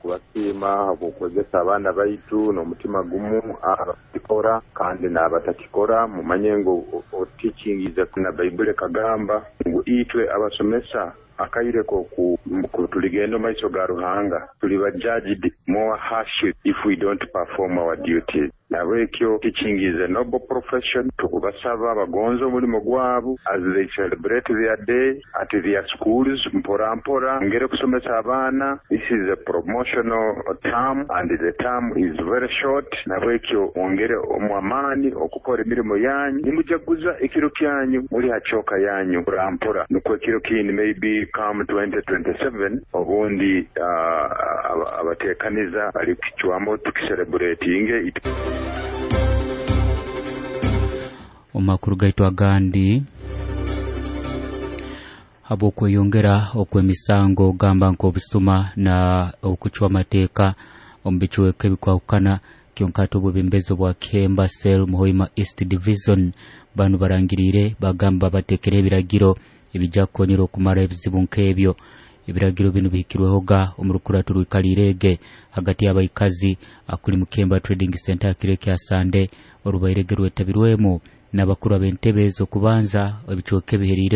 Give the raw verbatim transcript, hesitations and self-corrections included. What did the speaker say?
Kubasiima habw'okwegesa abaana baitu n'omutima gumu, abakikora kandi n'abatakikora. Mumanye ngu teaching is a, na Baibuli ekagamba ngu itwe abasomesa akaire koku tuligenda omu maiso ga Ruhanga, tuliba judged more harshly if we don't perform our duties. Nahabwekyo teaching is a noble profession. Tukubasaba bagonze omulimo gwabo as they celebrate their day at their schools, mpora mpora ngere kusomesa abaana. This is a promotional term and the term is very short. Nahabwekyo mwongere omu amaani okukora emirimo yanyu, nimujaguza ekiro kyanyu muli ha chalk yanyu mpora mpora, nukwo ekiro kindi maybe come twenty twenty-seven obundi uh, abateekaniza bali kicwamu tukicelebratinge. Omu makuru gaitu agandi, habw'okweyongera okw'emisango gamba nk'obusuma na okucwa amateeka omu bicweka ebikwahukana, kyonka ate obwebembezi bwa Kihemba Cell Muhoima East Division banu barangiriire bagamba bateekere ebiragiro ebijja kukonyera okumara ebizibu nk'ebyo. Ebiragiro binu bihikirwehoga omu rukurato rwikaliirege hagati y'abaikazi akuli Mukemba Trading Center kiro kya Sande, orubairege rwetabirwemu n'abakuru ab'entebe ez'okubanza ebicweka ebiheriire.